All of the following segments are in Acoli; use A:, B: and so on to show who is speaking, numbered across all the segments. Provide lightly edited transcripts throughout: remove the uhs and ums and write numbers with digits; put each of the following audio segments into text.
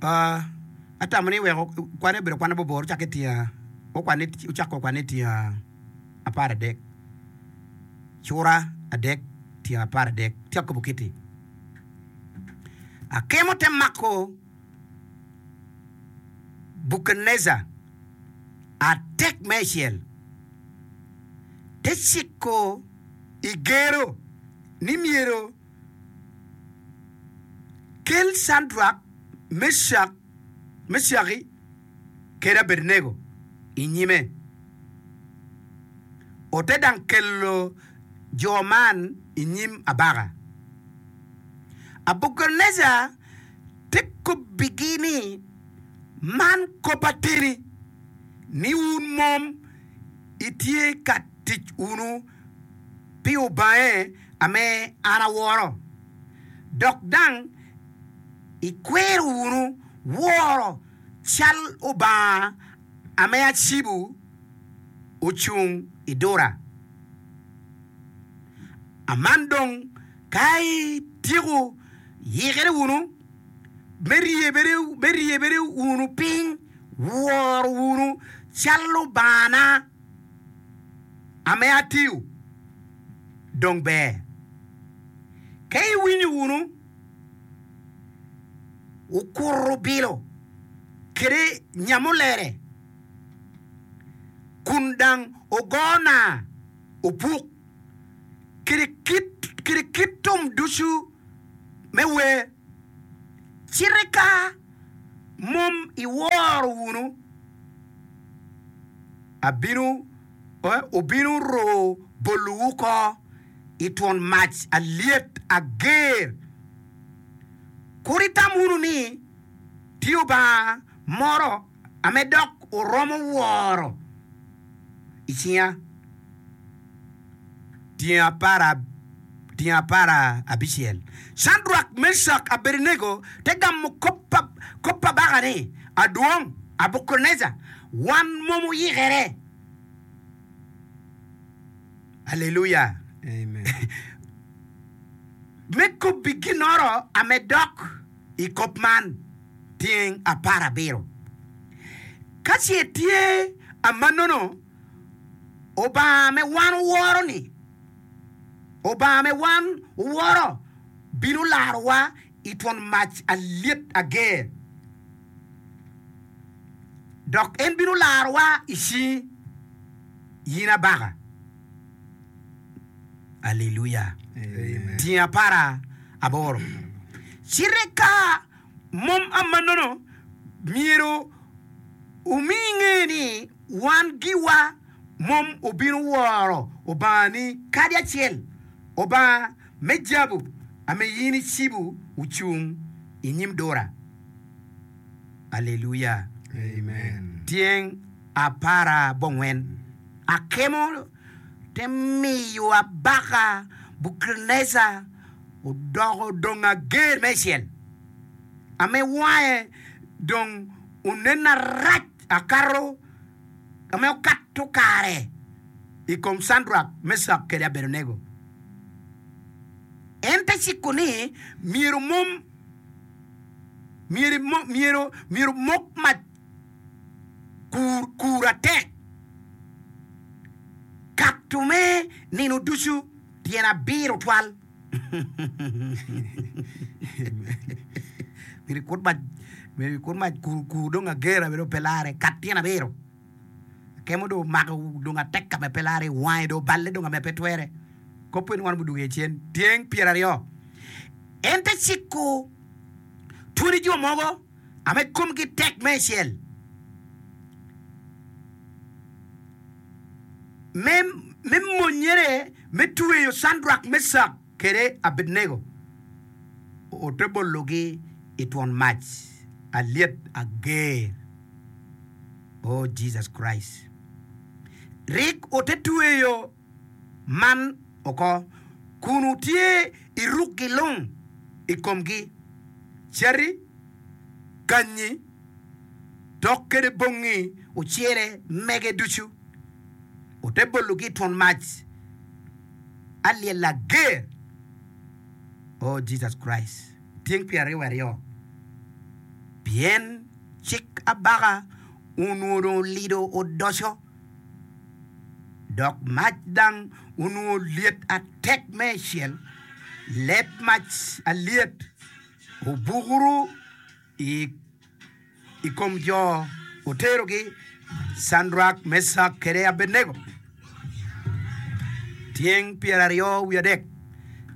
A: Atamo ni weko kwane obedo kwan mabor ocakke tyen ocako kwane tyen 13. Cura adek tyen 13 tye ka kobo kiti. Akemo te mako Bukadnejar atek me icel te ciko i gero ni myero kel Cadrak, Mecak, Mecaki kede Abednego i nyime. Ote dang kelo jo man i nyim abaka. Abukadnejar te kobbigi ni, Man kop ateni, ni wun mom itye ka tic wunu pi Obange ame an aworo, dok dang ikwero wunu woro cal obanga ame acibo ocung i dura. Aman dong ka ityeko yikere wunu me ryebere wunu piny, wor wunu cal lubangana ame atiyo, dong ber. Ka iwinyo wunu okuto bilo kede nyamulere, kun dang ogo naa opuk, kede kit tum ducu me wer, citi ka mom iworo wunu, abino obino ro bolowu oko i twon mac alyet ager. Kur itam wunu ni tye Obanga moro ame dok wuromo woro i cinga. Tyeng 16. Cadrak, Mecak, Abednego te gamo kop pa kabaka ni, Adwong, Abukadnejar, wan mom oyikere. Aleluya! Me kobbi ginnoro ame dok i kop man, tyeng 17. Ka ce tye amannono, Obanga me wan woro-ni, Obanga me wan woro bino larowa i twon mac alyet ager, dok en bino larowa i cingi, in abaka. Aleluya! Tyeng apara aboro. Cite ka mom amannono, myero wumi nge ni wan giwa mom obino woro Obangani kadi acel, Obanga me jabu ame in icibo ocung i nyim dura. Aleluya! Tyeng apara bongwen. Akemo te miyo abaka Bukadnejar odoko dong ager me icel, ame wange dong onen arac akato ame okato kare i kom Cadrak, Mecak kede Abednego. En te ciko ni myero mom myero myero mok mac kur kur atek kato me nino ducu tyen abiro twal. Myero ikut mac, myero ikut mac kur kur dong agera bene pe lare kat tyen abiro. Akemo dong omako dong atek ka ma pe lare wange dong oballe dong ka ma pe twere. Kop eni wan odwogo iye cen tyeng pyeraryo. En te ciko twoni jo mogo ame komgi tek me icel me me monyere me tweyo Cadrak, Mecak kede Abednego ote bologi i twon mac alyet ager. Oh Jesus Christ! Rik ote tweyo man oko kun wutye i rukgi lung i komgi, cati, kanyi, dok kede bongi ocele mege ducu. Ote bologi i twon mac alyel ager. Oh Jesus Christ! Tyeng 22 pi. Pien cik abaka onongo dong olido odoco, dok mac dang onongo lyet atek me ecel, leb mac alyet obukuru i i kom jo oterogi, Cadrak, Mecak kede Abednego. Tyeng pyeraryo wiye adek.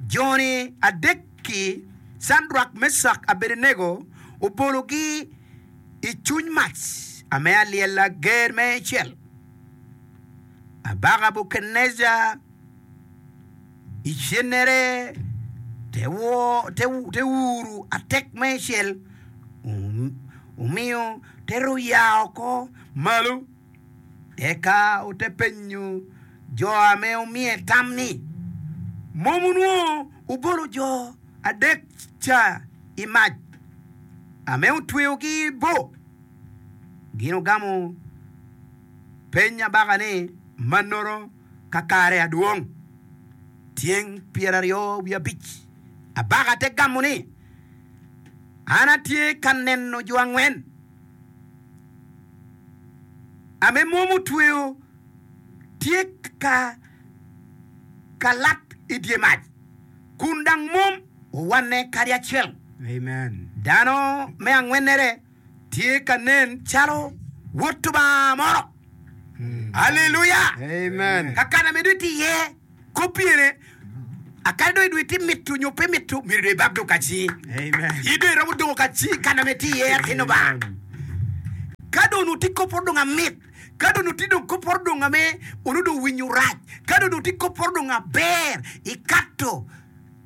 A: Jo-ni adek-ki, Cadrak, Mecak, Abednego, obologi i cuny mac ame alyel ger me cel. Abaka Nebukadnejar i cennere te uru atek me cel omiyo te ruya oko malo. Eka ote penyo jo ame omiye tam ni, Mom wunwongo wubolo jo adek ca i mac ame otweyogi bo? Gin ogamo peny abaka ni, Mannoro kakare adwong. Tyeng pyeraryo wiye abic. Abaka te gamo ni, An atye ka neno jo angwen ame mom otweyo tye ka kalat i dye mac, kun dang mom owanne kadi acel. Dano me angwennere tye ka nen calo Wod Lubanga moro. Aleluya! Kakana me dong itye iye, kop pyene, akadi dong idong itye mito nyo pe mito, myero dong ibab dong kaci. In dong iromo dongo kaci i kana me itye iye, atin Lubanga. Ka dong onongo tye kop oro dong amit, ka dong onongo tye dong kop oro dong ame onongo dong winyo rac, ka dong onongo tye kop oro dong aber, ikato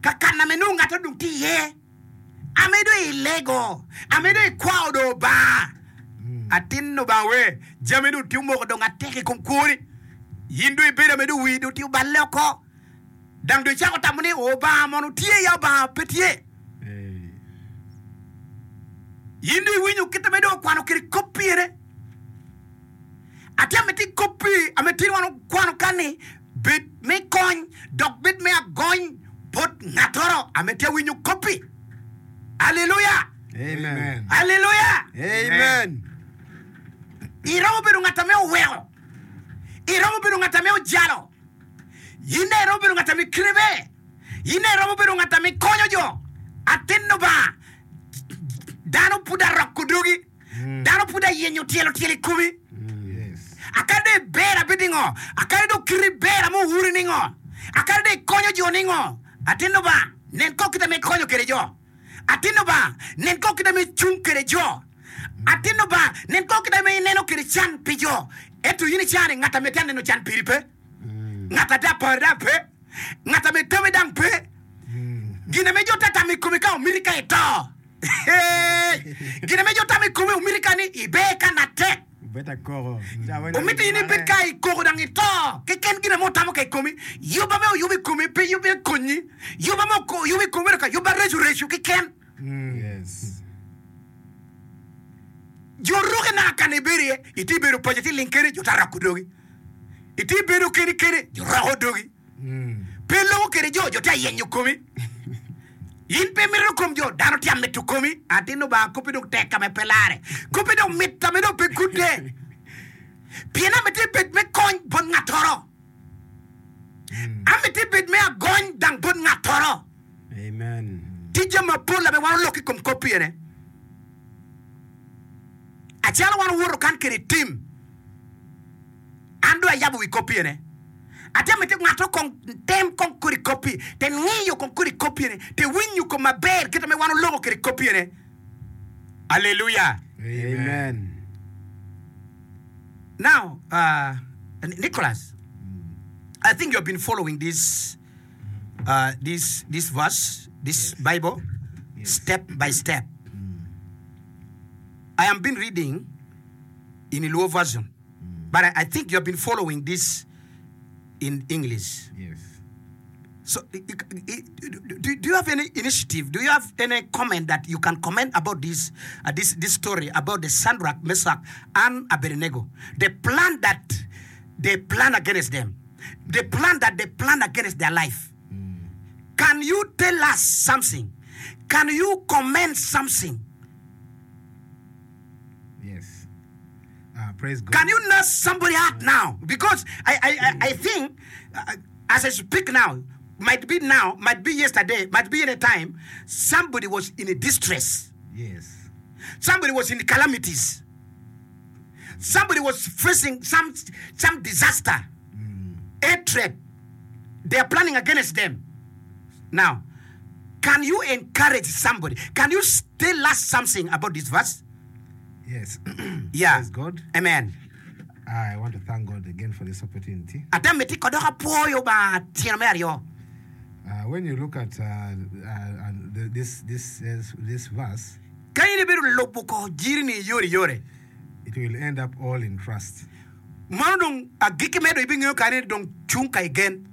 A: kakana me nongo ngat dong tye iye. Amedo i lego, amedo i kwao do Obanga. Atin Lubanga we, jami dong tye omoko dong atek i kom kwoni. In dong ibedo amedo wii dong tye oballe oko. Dang dong icako tamo ni Obanga mono tye ya Obanga pe tye. In dong iwinyo kit ame dong okwano kwede kop pire. Atye amiti kop pi ame tin wan okwano kan-ni. Bed me kony dok bed me agony bot ngattoro ame tye winyo koppi. Aleluya!
B: Amen.
A: Aleluya!
B: Amen.
A: Iromo bedo ngat ame oweko. Iromo bedo ngat ame ojalo. In dong iromo bedo ngat ame kite ber. In dong iromo bedo ngat ame konyo jo. Atin Lubanga, dano pud aroko dogi. Dano pud ayenyo tyelo tyelo i komi. Akadi dong iber abed ningo? Akadi dong kiti ber ame owuri ningo? Akadi dong ikonyo jo ningo? Atin Lubanga, nen kong kit ame ikonyo kwede jo. Atin Lubanga, nen kong kit ame icung kwede jo. Atin Lubanga, nen kong kit ame ineno kwede can pi jo. Ento in icani, ngat ame tye aneno can piri pe. Ngat ate apari dang pe. Ngat ame tami dang pe. Gin ame jo te tamo i komi ka omiti ka ito. Gin ame jo tamo i komi omiti ka ni iber ka natek. Omiti in ibed ka i koko dang ito keken gin ame otamo ka i komi. Yub ame oyubo i komi pe yub me konyi. Yub ame oyubo i komi obedo ka yub areco reco keken. Jo ruki naka ka na ibedo iye, itye bedo paco itye ling kene jo te roko dogi. Itye bedo keni kene jo roko dogi. Pe iloko kwede jo, jo tye ayenyo komi. In pe imito kom jo, dano tye amito komi. Atin Lubanga kopi dong tek ka me pe lare. Kopi dong mit ka me dong pe gudde. Pien amiti bed me kony bot ngattoro. Amiti bed me agony dang bot ngattoro.
B: Amen.
A: Tye jami mapol ame wan olok i kom kop ene. Acalo wan owoto kan kede tim. An dong ayabo wi kop ene. Atye amiti ngato kong tem kong kodi kop-pi, te ngiyo kong kodi kop-pi ene, te winyo kom maber kit ma wan oloko kwede kop-pi ene. Aleluya!
B: Amen.
A: Now, uh, Nicholas, I think you have been following this, uh, this, this verse, this Bible, step by step. I am been reading in Luo version. But I, I think you have been following this in English.
B: Yes.
A: So, do, do you have any initiative? Do you have any comment that you can comment about this, uh, this, this story about the Shadrach, Meshach, and Abednego? The plan that they plan against them, the plan that they plan against their life. Can you tell us something? Can you comment something?
C: Yes. Uh, praise God.
A: Can you nurse somebody heart now? Because I, I, I, I think uh, as I speak now, might be now, might be yesterday, might be any time, somebody was in a distress.
C: Yes.
A: Somebody was in calamities. Somebody was facing some, some disaster, hatred. They are planning against them. Now, can you encourage somebody? Can you tell us something about this verse?
C: Yes.
A: Yeah.
C: Praise God.
A: Amen.
C: I want to thank God again for this opportunity.
A: Ata miti ko dok apwoyo Lubanga tyeno me aryo.
C: Uh, when you look at uh, uh, the, this, this, this verse,
A: Ka in ibedo lubo ko jiri-ni yore yore,
C: it will end up all in trust.
A: Mano dong agikki me dong ibingeyo kare ni dong cung ka i gen.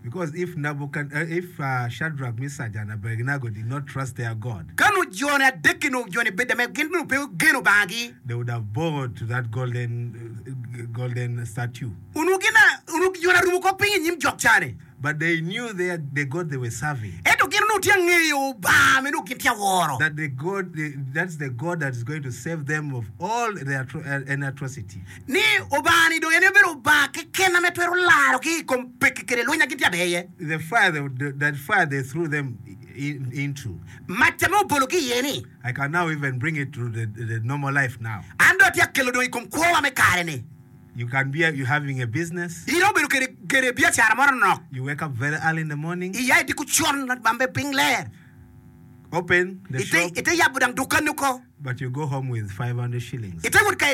C: Because if Nebuchad, uh, if uh, Shadrach, Meshach, and Abednego did not trust their God,
A: Ka nongo joni adekki nongo joni beda me gin nongo pe geno Lubangagi,
C: they would have bowed to that golden, uh, golden statue.
A: onongo gin a, onongo joni arumo ko piny i nyim jok ca-ni.
C: But they knew their, the God they were serving.
A: Ento gin onongo tye ka ngeyo Lubanga ma nongo gin tye ka woro.
C: That the God, the, that's the God that is going to save them of all their atro, uh, any atrocity.
A: Ni Lubanga-ni dong en aye obedo Lubanga keken ma twero larogi i kom pekki kede lweny ma gin tye ka bedo iye.
C: The fire, they, the, that fire they threw them in, into.
A: Mac ma obologi iye-ni.
C: I can now even bring it to the, the normal life now.
A: An dong atye ka kelo dong i kom kwowa me kare-ni.
C: You can be you having a business.
A: In obedo kede kede biacara mo nonok.
C: You wake up very early in the morning.
A: Iya i diko con ma be piny ler.
C: Open the
A: Ite
C: shop.
A: ite yabo dang dukanni oko.
C: But you go home with 500 shillings.
A: Ite wot ka.